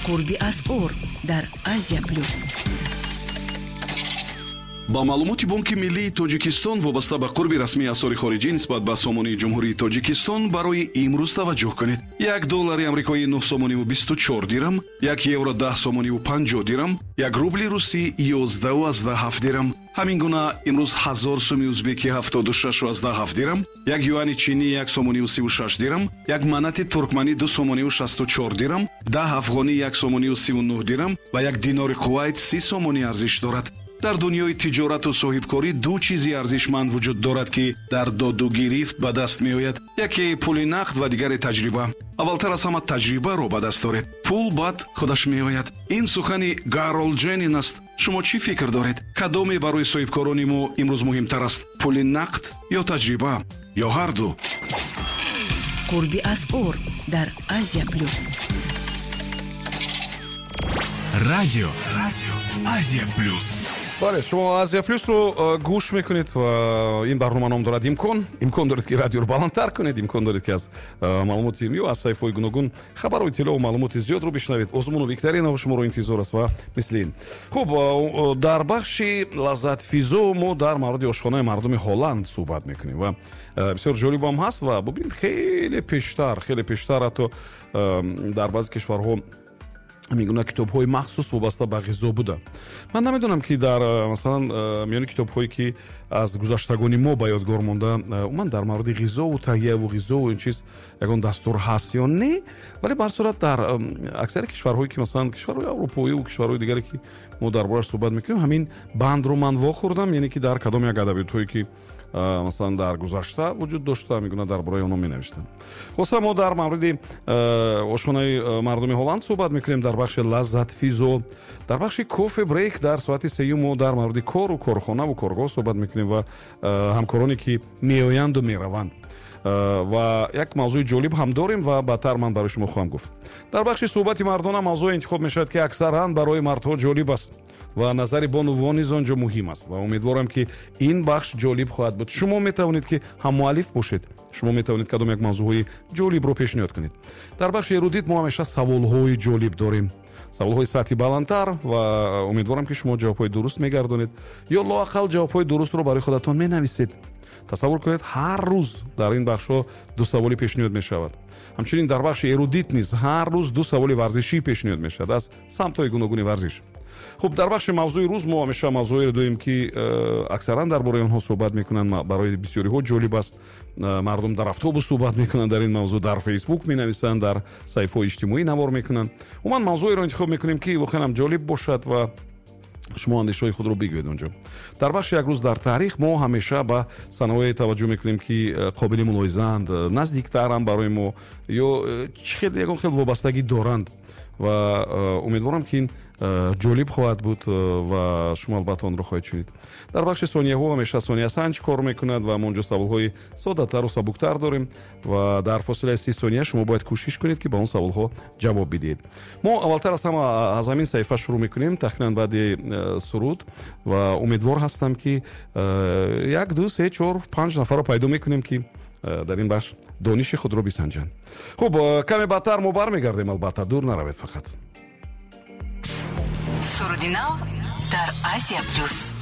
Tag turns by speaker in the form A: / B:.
A: Қурби асъор дар Азия Плюс.
B: Ба маълумоти Бонки миллии Тоҷикистон вобаста ба қурби расмии асъори хориҷӣ нисбат ба сомонии Ҷумҳурии Тоҷикистон барои имрӯз таваҷҷӯҳ кунед: 1 доллари амрикоӣ 9 сомониву 24 дирам, 1 евро 10 сомониву 50 дирам, 1 рубли русӣ 11,7 дирам. Ҳамин гуна имрӯз 1000 суми узбекӣ 76,7 дирам, 1 юани чинӣ 1 сомониву 36 дирам, 1 манати туркманӣ 2 сомониву 64 дирам, 10 афғонӣ 1 сомониву 39 дирам ва 1 динори Кувайт 30 сомонӣ арзиш дорад. Дар дунёи тиҷорату соҳибкорӣ ду чизи арзишманд вуҷуд дорад, ки дар додугирифт ба даст меояд: яке пули нақд ва дигаре таҷриба. Аввалтар аз ҳама таҷрибаро ба даст доред, пул баъд худаш меояд. Ин сухани Гаролд Ҷенин аст. Шумо чӣ фикр доред, кадоме барои соҳибкорони мо имрӯз муҳимтар аст: пули нақд ё таҷриба, ё ҳарду?
A: Қурби асъор дар Азия Плюс.
C: Радио Азия Плюс.
B: Бале, шумо Азия Плюсро гӯш мекунед ва ин барнома ном дорад «Имкон». Имкон доред, ки радиоро баландтар кунед, имкон доред, ки аз маълумоти ё аз саҳифаҳои гуногун хабару иттилоу маълумоти зиёдро бишнавед. Озмуну викторинаҳо шуморо интизор аст ва мисли ин. Хуб, дар бахши «Лаззатфизо» мо дар мавриди ошхонаи мардуми Ҳолланд суҳбат мекунем ва бисёр ҷолибам ҳаст. Ва бубинед, хеле пештар ҳатто дар баъзе кишварҳо ҳамин гуна китобҳои махсус вобаста ба ғизо буда. Ман намедонам, ки дар масалан миёни китобҳое, ки аз гузаштагони мо ба ёдгор монда, умуман дар мавриди ғизову таҳияву ғизову ин чиз ягон дастур ҳаст ё не, вале ба ҳар сурат дар аксари кишварҳое, ки масалан кишварҳои аврупоиву кишварҳои дигаре, ки мо дар борааш суҳбат мекунем, ҳамин бандро ман вохӯрдам, яъне ки дар кадом як адабиётҳое, ки масалан дар гузашта вуҷуд дошта, ҳамин гуна дар бораи онҳо менавиштанд. Хулоса, мо дар мавриди ошхонаи мардуми Ҳолланд суҳбат мекунем дар бахши «Лаззатфизо». Дар бахши «Кофе брейк» дар соати сеюм мо дар мавриди кору корхонаву коргоҳ суҳбат мекунем ва ҳамкороне, ки меоянду мераванд, ва як мавзӯи ҷолиб ҳам дорем ва баъдтар ман барои шумо хоҳам гуфт. Дар бахши «Суҳбати мардона» мавзӯе интихоб мешавад, ки аксаран барои мардҳо ҷолиб аст ва назари бонувон низ он ҷо муҳим аст, ва умедворам, ки ин бахш ҷолиб хоҳад буд. Шумо метавонед, ки ҳаммуаллиф бошед, шумо метавонед кадом як мавзӯъҳои ҷолибро пешниҳод кунед. Дар бахши «Эрудит» мо ҳамеша саволҳои ҷолиб дорем, саволҳои сатҳи баландтар, ва умедворам, ки шумо ҷавобҳои дуруст мегардонед ё лоақал ҷавобҳои дурустро барои худатон менависед. Тасаввур кунед, ҳар рӯз дар ин бахшҳо ду саволӣ пешниҳод мешавад. Ҳамчунин дар бахши «Эрудит» низ ҳар рӯз ду саволи варзишӣ пешниҳод мешавад аз самтҳои гуногуни варзиш. Хуб, дар бахши «Мавзӯи рӯз» мо ҳамеша мавзӯеро дорем, ки аксаран дар бораи онҳо суҳбат мекунанд, барои бисёриҳо ҷолиб аст. Мардум дар автобус суҳбат мекунанд дар ин мавзӯъ, дар Фейсбук менависанд, дар саҳифаҳои иҷтимоӣ навор мекунанд. Умуман мавзӯеро интихоб мекунем, ки воқеан ҳам ҷолиб бошад ва шумо андешаҳои худро бигӯед онҷо. Дар бахши «Як рӯз дар таърих» мо ҳамеша ба санаҳое таваҷҷӯҳ мекунем, ки қобили мулоҳизаанд, наздиктаранд барои мо ё чӣ хел ягон хел вобастагӣ доранд, ва умедворам, ки ин ҷолиб хоҳад буд ва шумо албатта онро хоҳед шунид. Дар бахши «Сонияҳо» ҳамеша сониясанҷ кор мекунад ва мо онҷо саволҳои соддатару сабуктар дорем ва дар фосилаи 30 сония шумо бояд кӯшиш кунед, ки ба он саволҳо ҷавоб бидиҳед. Мо аввалтар аз ҳама аз ҳамин саҳифа шурӯъ мекунем, тахминан баъди суруд, ва умедвор ҳастам, ки як, ду, се, чор, панҷ нафарро пайдо мекунем, ки дар ин бахш дониши худро бисанҷанд. Хуб, каме баъдтар мо бармегардем, албатта, дур наравед фақат.
A: Суруди нав дар Азия Плюс.